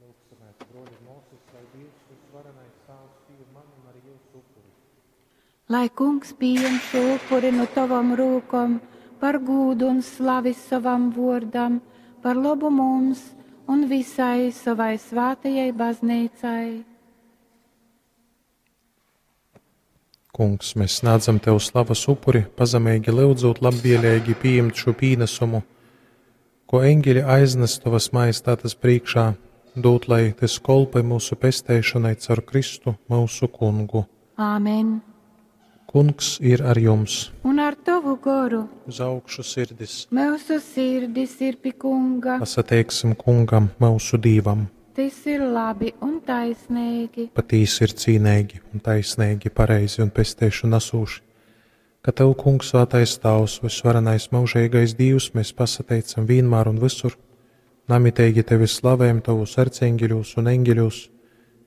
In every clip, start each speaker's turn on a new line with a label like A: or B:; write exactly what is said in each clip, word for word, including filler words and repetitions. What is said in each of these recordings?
A: Lūgsimēs, bruoļi un muosys, lai Dīvs vysvarenais Tāvs pījam manu un arī jyusu upuri.
B: Lai Kungs pījem šo upuri nu tovom rūkom par gūdu un slavi sovam vuordam, par lobu mums un visai sovai svātajai bazneicai.
A: Kungs, mēs snādzam Tev slavas upuri, pazemeigi lyudzūt labvieleigi pījimt šū pīnasumu, ko eņģeļi aiznes Tovas majestātes prīkšā, dūt, lai tys kolpoj myusu pesteišonai caur Kristu, myusu Kungu.
B: Āmen.
A: Kungs ir ar jums!
B: Un ar tovu goru
A: Uz augšu sirdis!
B: Myusu sirdis ir pi Kunga.
A: Pasateiksim Kungam, myusu Dīvam!
B: Tys ir labi un taisneigi.
A: Patīsi ir cīneigi un taisneigi, pareizi un pesteišonu nasūši, ka Tev, Kungs, Svātais Tāvs, vysvarenais myužeigais Dīvs, mēs pasateicam vienmēr un visur, namiteigi Tevi slavējam Tavus arcieņģeļūs un eņģeļūs,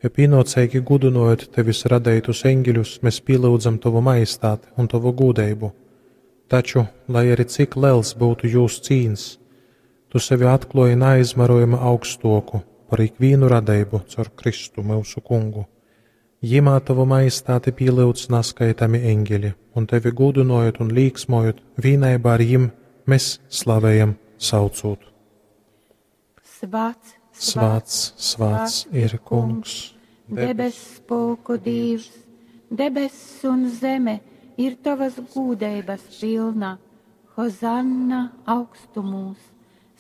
A: jo pienōceigi gudinojot Tevis radeitus eņģeļus, mēs pielūdzam Tavu majestāti un Tavu gūdeibu. Taču, lai arī cik liels būtu jūs cīns, Tu sevi atklāji neaizmarojami augstoku par ikvienu radeibu caur Kristu myusu Kungu. Jimā Tavu majestāti pielūdz naskaitami eņģeļi, un Tevi gudinojot un līksmojot, vienībā ar jim mēs slavējam saucot.
B: Svāts,
A: Svāts, svāts ir Kungs,
B: debess pulku Dīvs, debess un zeme ir tavas gūdeibas pilna. Hozanna augstumūs,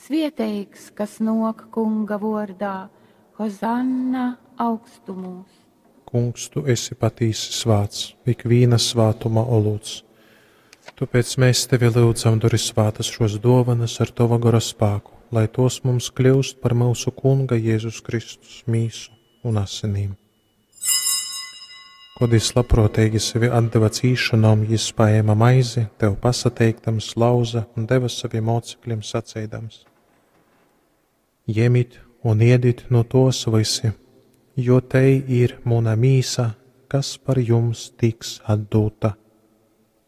B: svieteigs, kas nok Kunga vordā, Hozanna augstumūs.
A: Kungs, Tu esi patīsi svāts, ikviena svātuma olūts. Tāpēc mēs Tevi lūdzam, dori svātas šos dovanas ar Tava gara spēku, lai tos mums kļūst par mūsu Kunga Jēzus Kristus mīsu un asinīm. Kod jis labprōteigi sevi atdeva cīšanom, jis paēma maizi, Tev pasateiktams, lauza un deva saviem mocekļiem saceidams: Jemit un iedit no tos visi, jo tei ir muna mīsa, kas par jums tiks atdota.